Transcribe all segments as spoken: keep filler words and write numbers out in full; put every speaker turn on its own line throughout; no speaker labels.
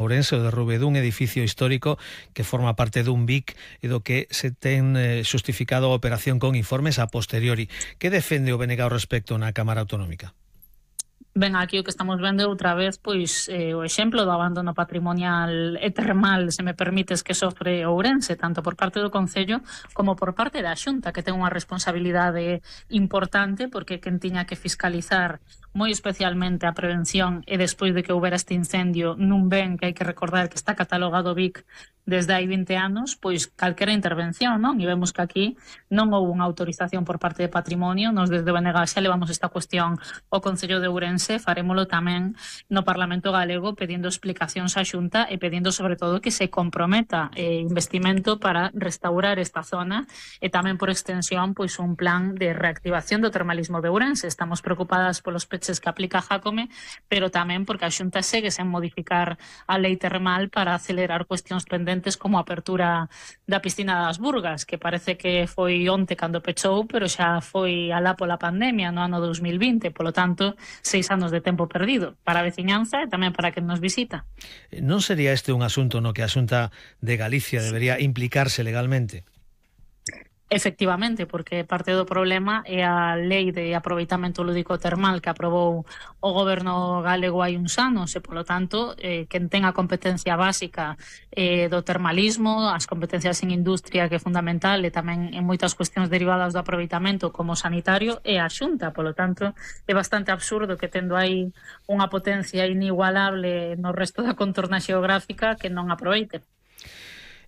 Ourense, o derrube dun edificio histórico que forma parte dun B I C e do que se ten eh, xustificado a operación con informes a posteriori. Que defende o B N G ao respecto na Cámara Autonómica?
Ben, aquí o que estamos vendo outra vez pois eh, o exemplo do abandono patrimonial e termal, se me permites, que sofre Ourense, tanto por parte do Concello como por parte da Xunta, que ten unha responsabilidade importante porque quen tiña que fiscalizar moi especialmente a prevención e despois de que houbera este incendio nun ben que hai que recordar que está catalogado B I C desde hai vinte anos, pois calquera intervención, non? E vemos que aquí non houve unha autorización por parte de Patrimonio. Nos desde o B N G xa levamos esta cuestión ao Concello de Ourense, farémolo tamén no Parlamento Galego pedindo explicacións á Xunta e pedindo sobre todo que se comprometa eh, investimento para restaurar esta zona e tamén por extensión pois un plan de reactivación do termalismo de Ourense. Estamos preocupadas polos peches que aplica Jácome, pero tamén porque a Xunta segue sen modificar a lei termal para acelerar cuestións pendentes como a apertura da piscina das Burgas, que parece que foi onte cando pechou, pero xa foi alá pola pandemia no ano dos mil vinte, polo tanto, seis anos de tempo perdido para a veciñanza e tamén para quen nos visita.
Non sería este un asunto no que a Xunta de Galicia debería implicarse legalmente?
Efectivamente, porque parte do problema é a lei de aproveitamento lúdico termal que aprobou o goberno galego hai uns anos e, polo tanto, eh, quen ten a competencia básica eh, do termalismo, as competencias en industria, que é fundamental, e tamén en moitas cuestións derivadas do aproveitamento como sanitario, é a Xunta. Polo tanto, é bastante absurdo que tendo aí unha potencia inigualable no resto da contorna xeográfica que non aproveite.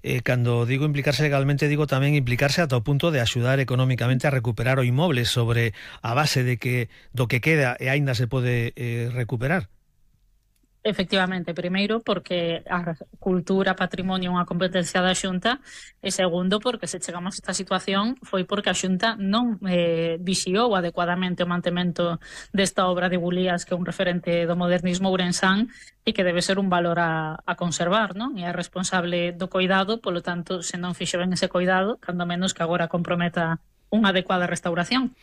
Eh, cando digo implicarse legalmente, digo tamén implicarse ata o punto de axudar económicamente a recuperar o inmoble sobre a base de que do que queda e aínda se pode eh, recuperar.
Efectivamente, primeiro porque a cultura, patrimonio é unha competencia da Xunta e segundo porque se chegamos a esta situación foi porque a Xunta non eh, vixiou adecuadamente o mantemento desta obra de Bulías, que é un referente do modernismo ourensán e que debe ser un valor a, a conservar, non? E é responsable do coidado, polo tanto, se non fixo ben ese coidado, cando menos que agora comprometa unha adecuada restauración.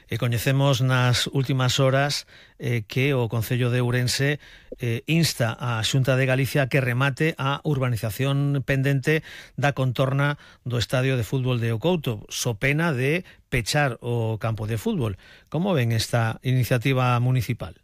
E coñecemos nas últimas horas eh, que o Concello de Ourense eh, insta a Xunta de Galicia a que remate a urbanización pendente da contorna do estadio de fútbol de O Couto, so pena de pechar o campo de fútbol. Como ven esta iniciativa municipal?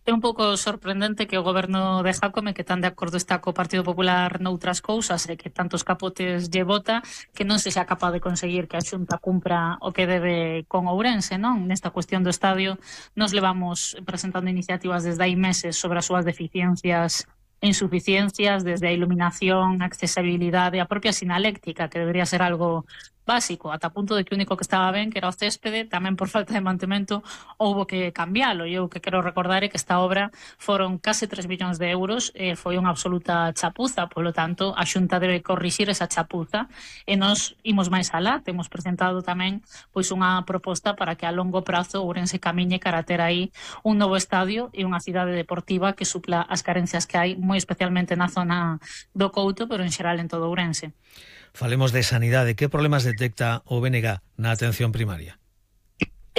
É un pouco sorprendente que o goberno de Jácome, que tan de acordo está co Partido Popular noutras cousas e que tantos capotes lle vota, que non se xa capaz de conseguir que a Xunta cumpra o que debe con Ourense, non? Nesta cuestión do estadio nos levamos presentando iniciativas desde hai meses sobre as súas deficiencias e insuficiencias, desde a iluminación, a accesibilidade, a propia sinaléctica, que debería ser algo básico, ata punto de que o único que estaba ben, que era o céspede, tamén por falta de mantemento houbo que cambiálo. E eu que quero recordar é que esta obra foron case tres millóns de euros, e foi unha absoluta chapuza, polo tanto a Xunta debe corrixir esa chapuza e nos imos máis alá. Temos presentado tamén pois unha proposta para que a longo prazo Ourense camiñe cara a ter aí un novo estadio e unha cidade deportiva que supla as carencias que hai, moi especialmente na zona do Couto, pero en xeral en todo Ourense.
Falemos de sanidade. Que problemas detecta o B N G na atención primaria?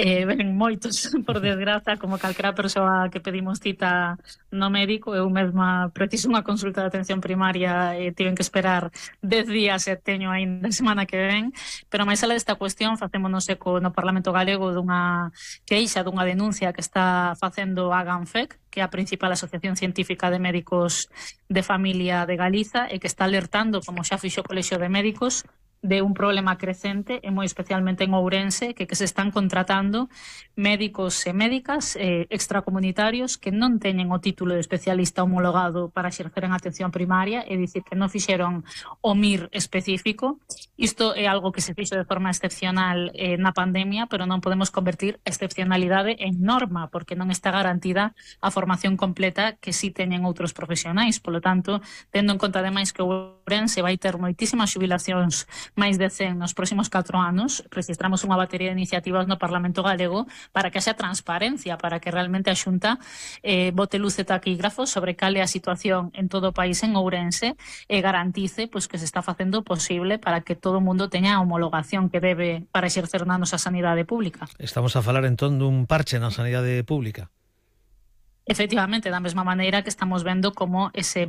Eh, ven moitos, por desgraza, como calquera persoa que pedimos cita no médico. Eu mesma preciso unha consulta de atención primaria e tiven que esperar dez días e teño ainda a semana que ven. Pero máis alá desta cuestión, facémonos eco no Parlamento Galego dunha queixa, dunha denuncia que está facendo a GANFEC, que é a principal asociación científica de médicos de familia de Galiza e que está alertando, como xa fixo o Colexio de Médicos, de un problema crecente e moi especialmente en Ourense, que, que se están contratando médicos e médicas eh, extracomunitarios que non teñen o título de especialista homologado para exercer en atención primaria, é dicir, que non fixeron o M I R específico. Isto é algo que se fixo de forma excepcional eh, na pandemia, pero non podemos convertir a excepcionalidade en norma, porque non está garantida a formación completa que si teñen outros profesionais. Polo tanto, tendo en conta ademais que Ourense vai ter moitísimas xubilacións, máis de cen nos próximos catro anos, registramos unha batería de iniciativas no Parlamento Galego para que haxa transparencia, para que realmente a Xunta eh, bote luz e taquígrafos sobre cal é a situación en todo o país en Ourense e garantice pois, que se está facendo o posible para que todo o mundo teña a homologación que debe para exercer na nosa sanidade pública.
Estamos a falar entón dun parche na sanidade pública.
Efectivamente, da mesma maneira que estamos vendo como ese